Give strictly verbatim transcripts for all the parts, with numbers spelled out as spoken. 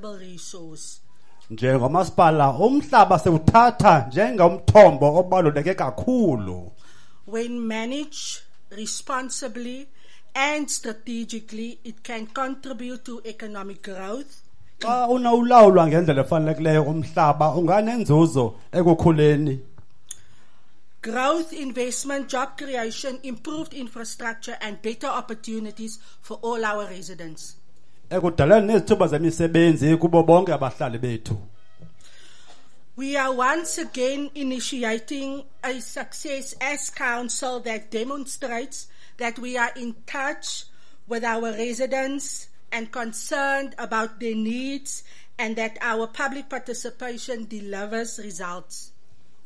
valuable resource. Njengomasipala umhlaba siwuthatha njengomthombo obaluleke kakhulu. When managed responsibly and strategically, it can contribute to economic growth, Xa unawulawulwa ngendlela efanelekileyo umhlaba unganenzuzo ekukhuleni. growth, investment, job creation, improved infrastructure, and better opportunities for all our residents. Ekudaleni nezithuba zemisebenzi kubo bonke abahlali bethu. We are once again initiating a success as council that demonstrates that we are in touch with our residents and concerned about their needs, and that our public participation delivers results.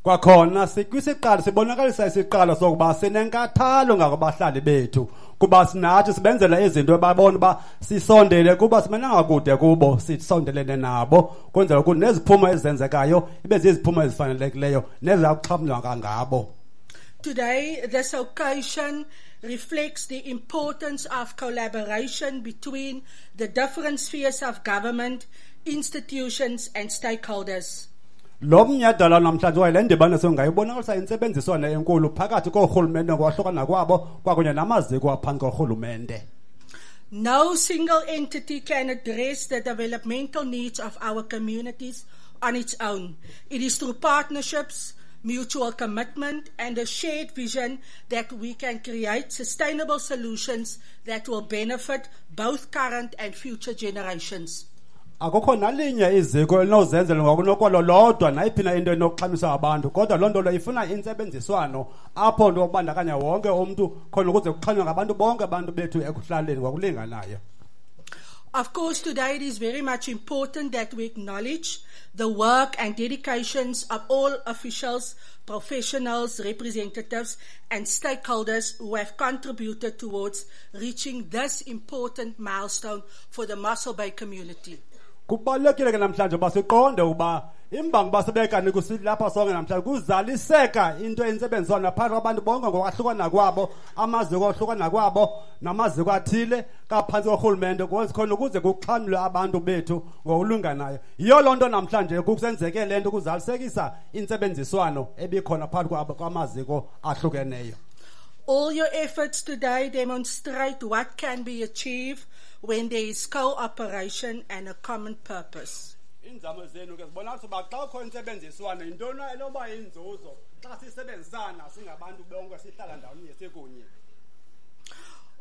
Kwakhona sikwisiqalo sibonakalisa isiqalo sokuba sinenkathalo ngakubahlali bethu kuba sinathi sibenzela izinto ebabona uba sisondele kuba simenanga kude kubo, sisondelene nabo kwenzela ukuthi neziphumo ezenzekayo ibe ziziphumo ezifanelekileyo neziza kuxhamlwa ngabo. Today, this occasion reflects the importance of collaboration between the different spheres of government, institutions, and stakeholders. Lo mnyhadala namhlanje okanye le ndibano songayibonakalisa intsebenziswano enkulu phakathi koorhulumente ngokwahlukana kwabo kwakunye namaziko aphantsi korhulumente. No single entity can address the developmental needs of our communities on its own. It is through partnerships, mutual commitment, and a shared vision that we can create sustainable solutions that will benefit both current and future generations. Akukho nalinye iziko elinozenzela ngokunokwalo lodwa nayiphi na into enokuxhamisa abantu, kodwa loo nto leyo ifuna intsebenziswano apho nto kubandakanya wonke umntu khona ukuze kuxhanywe ngabantu bonke abantu bethu ekuhlaleni ngokulinganayo. Of course, today it is very much important that we acknowledge the work and dedications of all officials, professionals, representatives, and stakeholders who have contributed towards reaching this important milestone for the Mossel Bay community. Kubalulekile ke namhlanje uba siqonde ukuba imbangi uba sibe kanti kusilapha sonke namhlanje kuzaliseka into entsebenziswano phakathi kwabantu bonke ngokwahlukana kwabo, amaziko ohlukana kwabo namaziko athile kaphantsi korhulumente khona ukuze kuxhamlwe abantu bethu ngokulinganayo. Yiyo loo nto namhlanje kusenzeke le nto kuzalisekisa intsebenziswano ebikhona phakathi kwamaziko ahlukeneyo. All your efforts today demonstrate what can be achieved when there is cooperation and a common purpose. Iinzame zenu ke zibonakala uba xa kukho intsebenziswano yintoni enoba yinzuzo xa sisebenzisana singabantu bonke sihlala ndawonye sikunye.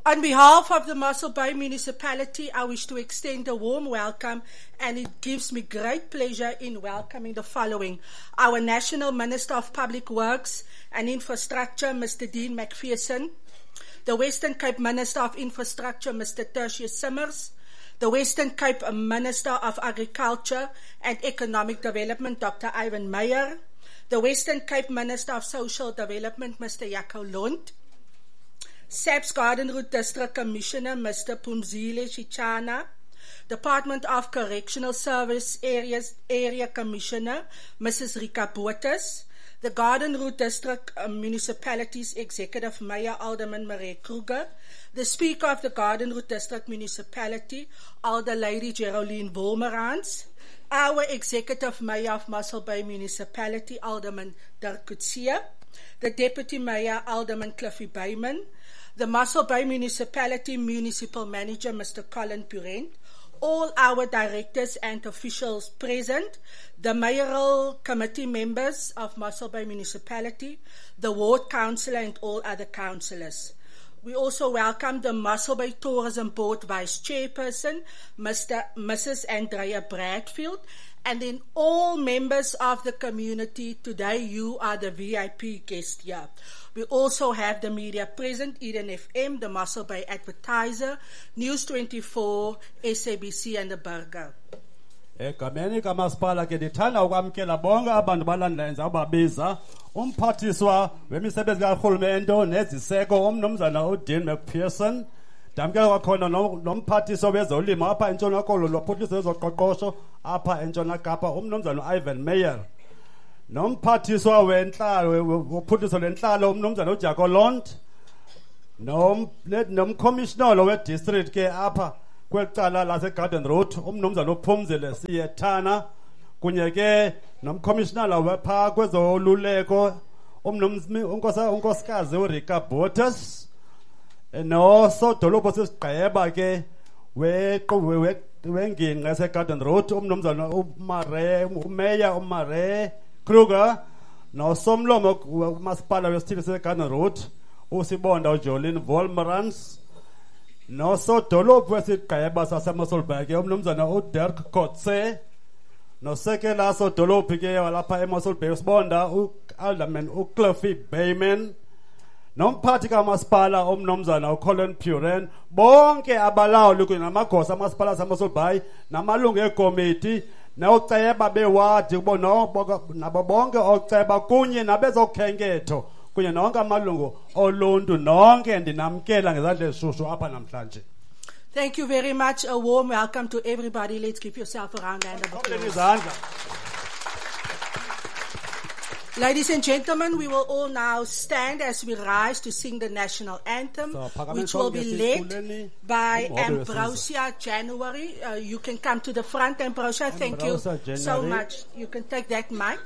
On behalf of the Mossel Bay Municipality, I wish to extend a warm welcome, and it gives me great pleasure in welcoming the following. Our National Minister of Public Works and Infrastructure, Mister Dean Macpherson, the Western Cape Minister of Infrastructure, Mister Tertuis Simmers, the Western Cape Minister of Agriculture and Economic Development, Doctor Ivan Meyer, the Western Cape Minister of Social Development, Mister Jaco Londt, S A P S Garden Route District Commissioner, Mister Phumzile Shichana, Department of Correctional Service Areas, Area Commissioner, Missus Rika Botes, the Garden Route District, uh, Municipality's Executive Mayor, Alderman Marie Kruger, the Speaker of the Garden Route District Municipality, Alder Lady Geraldine Wolmerans, our Executive Mayor of Mossel Bay Municipality, Alderman Dirk Coetzee, the Deputy Mayor, Alderman Cliffy Bayman, the Mossel Bay Municipality Municipal Manager, Mister Colin Purent, all our directors and officials present, the mayoral committee members of Mossel Bay Municipality, the ward councillor and all other councillors. We also welcome the Mossel Bay Tourism Board Vice Chairperson, Mister Missus Andrea Bradfield, and then all members of the community. Today you are the V I P guest here. We also have the media present, Eden F M, the Mossel Bay Advertiser, News twenty-four, S A B C and the Burger. Egameni kamasipala ke ndithanda ukwamkela bonke abantu balandela enza umphathiswa wemisebenzi karhulumente neziseko umnumzana uDean Macpherson, ndamkela kwakhona nomphathiswa wezolimo apha eNtshona Koloni lophuhliso lwezoqoqosho apha eNtshona Kapa umnumzana uIvan Meyer, nomphathiswa wentlalo wophuhliso lwentlalo umnumzana uJaco Londt, nomcommissioner wedistrict ke apha kweli cala laseGarden Road umnumzana uPhumzile Siyethana kunye ke nomkhomishinala wepha kwezoluleko umnumzana unkosikazi uRika Botes nosodolophu sesigqeba ke wengingqi yaseGarden Road umnumzana uMare umeya uMare Kruger nosomlomo umasipala wesithili seGarden Road uSibonda uJolene Wolmarans nosodolophu wesigqeba saseMossel Bay ke umnumzana uDirk Kotze nosekela sodolophu ke walapha eMossel Bay uSibonda uAlderman uCliffy Bayman nomphathi kamasipala umnumzana uColin Puren bonke abalawuli kunye namagosa amasipala aseMossel Bay namalungu ekomiti nooceba bewadi nabo bonke ooceba kunye nabezokhenketho kunye nonke amalungu oluntu nonke ndinamkela ngezandla ezishushu apha namhlanje. Thank you very much. A warm welcome to everybody. Let's give yourself a round hand of applause. Izandla. Ladies and gentlemen, we will all now stand as we rise to sing the national anthem, So, phakame which will be sonke led siculeni by umhobe wesizwe. Ambrosia January. Uh, you can come to the front, Ambrosia. Thank you Ambrosia so January. much. You can take that mic.